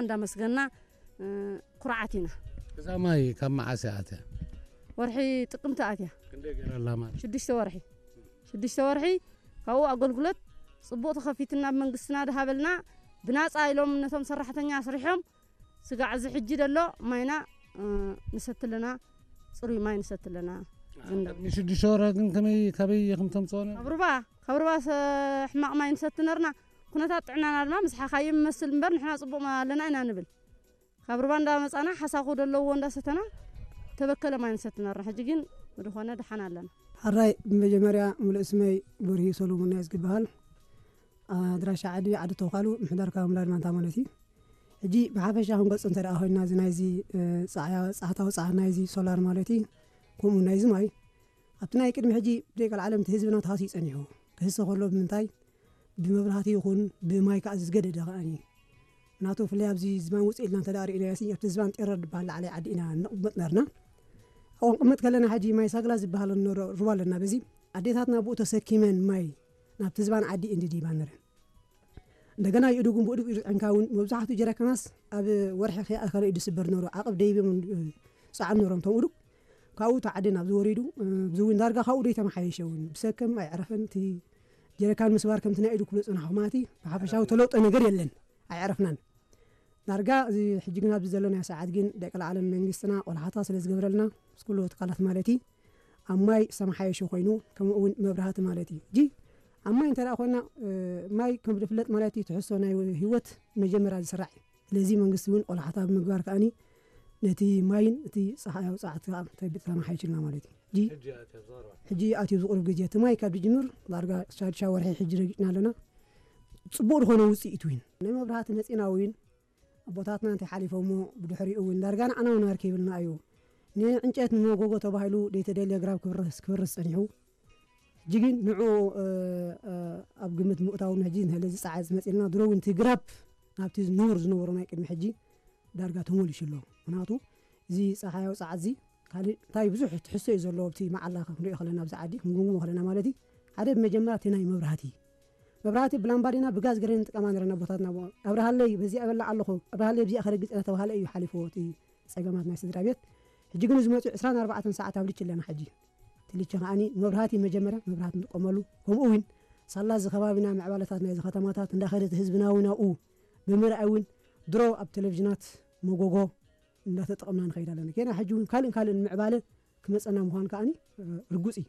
እንዳመስገና ኩርዓት ኢና። እዛ ማይ ካብ መዓስ እያ ኣትያ? ወርሒ ጥቅምቲ ኣትያ። ክንደይ ገይራ ኣላ ማለት? ሽዱሽተ ወርሒ ሽዱሽተ ወርሒ ካብኡ ኣገልግሎት ጽቡቕ ተኸፊትና ብመንግስትና ድሃበልና ብናጻ ኢሎም ነቶም ሰራሕተኛ ኣስሪሖም ስጋዕ እዚ ሕጂ ደሎ ማይና ንሰትለና ጽሩይ ማይ ንሰትለና። ንሽዱሽተ ወርሒ ግን ከመይ ካበይ ኢኹም ተምጽኦ ነርኩም? ካብ ሩባ ካብ ሩባ ሕማቕ ማይ ንሰቲ ነርና። ኩነታት ጥዕናና ድማ ምስ ሓኻይም ይመስል እምበር ንሕና ጽቡቕ ኣለና ኢና ንብል። ካብ ሩባ እንዳመጻና ሓሳኹ ደለዎ እንዳሰተና ተበከለ ማይ ንሰቲ ነርና። ሕጂ ግን ብድኾነ ደሓን ኣለና። ሓራይ ብመጀመርያ ምሉእ ስመይ በርሂ ሰሎሞን ናይ ዝግበሃል ኣድራሻ ዓዲ ዓዲ ተውካሉ ምሕዳር ካብ ምላድ ማንታ ማለት እዩ። ሕጂ ብሓፈሻ ክንገልጾ እንተ ደኣ ኮይንና እዚ ናይዚ ጻዕታዊ ጻዕት ናይዚ ሶላር ማለት እዩ። ከምኡ ናይዚ ማይ ኣብቲ ናይ ቅድሚ ሕጂ ብደቂ ዓለም እቲ ህዝብና ተሃስዩ ጸኒሑ ክህሰ ከሎ ብምንታይ ብመብራህቲ ይኹን ብማይ ከዓ ዝገደደ ከኣኒ ናቱ ፍለይ ኣብዚ ዝባን ውፅእ ኢልና እንተ ርእናዮ ኣብቲ ዝባን ጤረር ዝበሃል ላዕላይ ዓዲ ኢና ንቕመጥ ነርና። ኣብኡ ንቕመጥ ከለና ሕጂ ማይ ሳግላ ዝበሃል ሩባ ኣለና። በዚ ኣዴታትና ብኡ ተሰኪመን ማይ ናብቲ ዝባን ዓዲ እንድዲባ ነረን። እንደገና ይእዱጉን ብእዱግ ይርዕንካ እውን መብዛሕትኡ ጀረካናስ ኣብ ወርሒ ከይኣኸለ እዩ ዝስበር ነሩ። ዓቕብ ደይብም ፃዕም ነሮም ቶም እዱግ ካብኡ ተዓዲ ናብ ዝወሪዱ ዝውን ዳርጋ ካብኡ ደይ ተመሓየሸ እውን ብሰከም ኣይዕረፈን። እቲ ጀረካን ምስባር ከምቲ ናይ ኢዱ ክብሎ ፅናኹ ማለቲ ብሓፈሻዊ ተለውጠ ነገር የለን። ኣይዕረፍናን ዳርጋ እዚ ሕጂ ግን ኣብዚ ዘሎ ናይ ሰዓት ግን ደቂ ለዓለም መንግስትና ቆልሓታ ስለ ዝገብረልና ምስ ኩሉ ትካላት ማለት እዩ ኣብ ማይ ዝተመሓየሸ ኮይኑ ከምኡ እውን መብራህቲ ማለት እዩ። እጂ ኣብ ማይ እንተ ደኣ ኮይና ማይ ከም ዝፍለጥ ማለት እዩ ትሕዝቶ ናይ ህይወት መጀመርያ ዝስራዕ እዩ። ስለዚ መንግስቲ እውን ቆልሓታ ብምግባር ከኣኒ ነቲ ማይን እቲ ፀሓያዊ ፀዓት ከዓ ተማሓይሽልና ማለት እዩ። ሕጂ ኣትዩ ዝቁርብ ግዜ እቲ ማይ ካብ ዝጅምር ዳርጋ ሻድሻ ወርሒ ሕጂ ረጊፅና ኣለና። ፅቡቅ ዝኾነ ውፅኢት እውን ናይ መብራህቲ መፂና እውን ኣቦታትና እንታይ ሓሊፎሞ ብድሕሪኡ እውን ዳርጋ ንዓና እውን ኣርከብልና እዩ። ንዕንጨት ንመጎጎ ተባሂሉ ደይተደልየ ግራብ ክብርስ ክብርስ ጸኒሑ። ሕጂ ግን ንዑ ኣብ ግምት ምእታውን ሕጂ ንህለ ዝጸዓት ዝመጽልና ድሮ እውን እቲ ግራብ ናብቲ ንቡር ዝነበሮ ናይ ቅድሚ ሕጂ ዳርጋ ተመሊሹ ኣሎ። ምክንያቱ እዚ ጸሓያዊ ጸዓት እዚ ካልእ እንታይ ብዙሕ ትሕዝቶ እዩ ዘለዎ ኣብቲ መዓላ ክንሪኦ ከለና ኣብዚ ዓዲ ክንግምግሞ ከለና ማለት እዩ። ሓደ ብመጀመርያ እቲ ናይ መብራህቲ መብራህቲ ብላምባዲና ብጋዝ ገረን ንጥቀማ ነረና ኣቦታትና ኣብርሃለይ በዚኣ በላ ኣለኹ ኣብርሃለይ ኣብዚኣ ከረግፅ እናተባሃለ እዩ ሓሊፍዎ እቲ ፀገማት ናይ ስድራ ቤት። ሕጂ ግን እዚ መፅኡ ዕስራን ኣርባዕተን ሰዓት ኣብ ልቺ ኣለና። ሕጂ እቲ ልቺ ከዓኒ መብራህቲ መጀመርያ መብራህቲ ንጥቀመሉ ከምኡ እውን ሳላ እዚ ከባቢና ምዕባለታት ናይዚ ከተማታት እንዳኸደ እቲ ህዝቢ ናዊ ናብኡ ብምርኣይ እውን ድሮ ኣብ ቴሌቪዥናት መጎጎ እንዳተጠቐምና ንኸይድ ኣለና። ጌና ሕጂ እውን ካልእን ካልእን ምዕባለ ክመፀና ምዃኑ ከዓኒ ርጉፅ እዩ።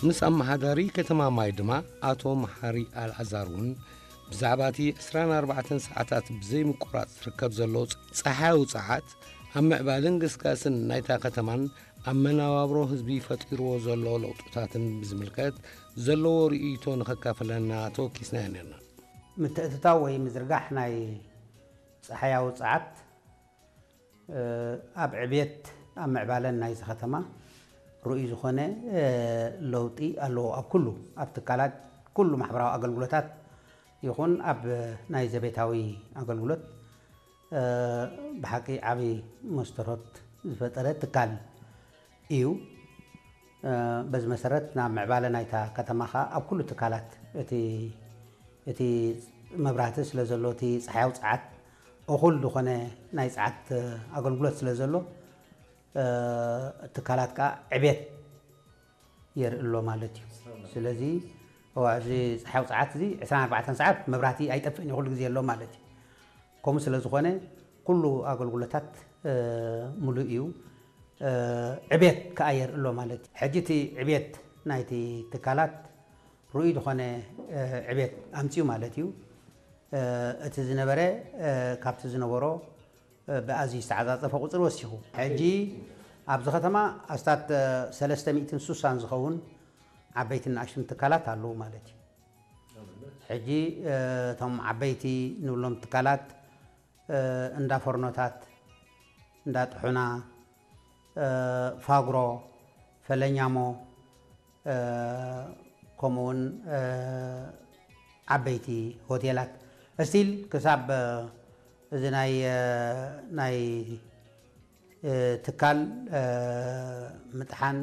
ምስ ኣመሓዳሪ ከተማ ማይ ድማ ኣቶ መሓሪ ኣልኣዛር እውን ብዛዕባ እቲ ዕስራን ኣርባዕተን ሰዓታት ብዘይምቁራፅ ዝርከብ ዘሎ ፀሓያዊ ፀዓት ኣብ ምዕባልን ግስጋስን ናይታ ከተማን ኣብ መነባብሮ ህዝቢ ፈጢርዎ ዘሎ ለውጥታትን ብዝምልከት ዘለዎ ርእይቶ ንኸካፍለና ተወኪስናዮ ነርና። ምትእትታው ወይ ምዝርጋሕ ናይ ጸሓያዊ ጸዓት ኣብ ዕብየት ኣብ ምዕባለን ናይዚ ከተማ ርኡይ ዝኾነ ለውጢ ኣለዎ። ኣብ ኩሉ ኣብ ትካላት ኩሉ ማሕበራዊ ኣገልግሎታት ይኹን ኣብ ናይ ዘቤታዊ ኣገልግሎት ብሓቂ ዓቢ መስተርሆት ዝፈጠረ ትካል እዩ። በዚ መሰረት ናብ ምዕባለ ናይታ ከተማ ከኣ ኣብ ኩሉ ትካላት እቲ እቲ መብራህቲ ስለ ዘሎ እቲ ጸሓያዊ ጸዓት እኹል ዝኾነ ናይ ጸዓት ኣገልግሎት ስለ ዘሎ ትካላት ከኣ ዕቤት የርኢ ኣሎ ማለት እዩ። ስለዚ እዋ እዚ ጸሓያዊ ጸዓት እዚ ዕስራን ኣርባዕተን ሰዓት መብራህቲ ኣይጠፍእን እዩ፣ ኩሉ ግዜ ኣሎ ማለት እዩ። ከምኡ ስለ ዝኾነ ኩሉ ኣገልግሎታት ምሉእ እዩ። ዕቤት ከኣ የርኢ ኣሎ ማለት እዩ። ሕጂ እቲ ዕቤት ናይቲ ትካላት ርኡይ ዝኾነ ዕቤት ኣምፅኡ ማለት እዩ። እቲ ዝነበረ ካብቲ ዝነበሮ ብኣዝዩ ዝተዓፃፀፈ ቁፅሪ ወሲኹ። ሕጂ ኣብዚ ከተማ ኣስታት ሰለስተ ሚእትን ስሳን ዝኸውን ዓበይትን ንኣሽቱን ትካላት ኣለዉ ማለት እዩ። ሕጂ እቶም ዓበይቲ ንብሎም ትካላት እንዳ ፎርኖታት፣ እንዳ ጥሑና፣ ፋግሮ፣ ፈለኛሞ፣ ከምኡውን ዓበይቲ ሆቴላት እስቲል ክሳብ እዚ ናይ ናይ ትካል ምጥሓን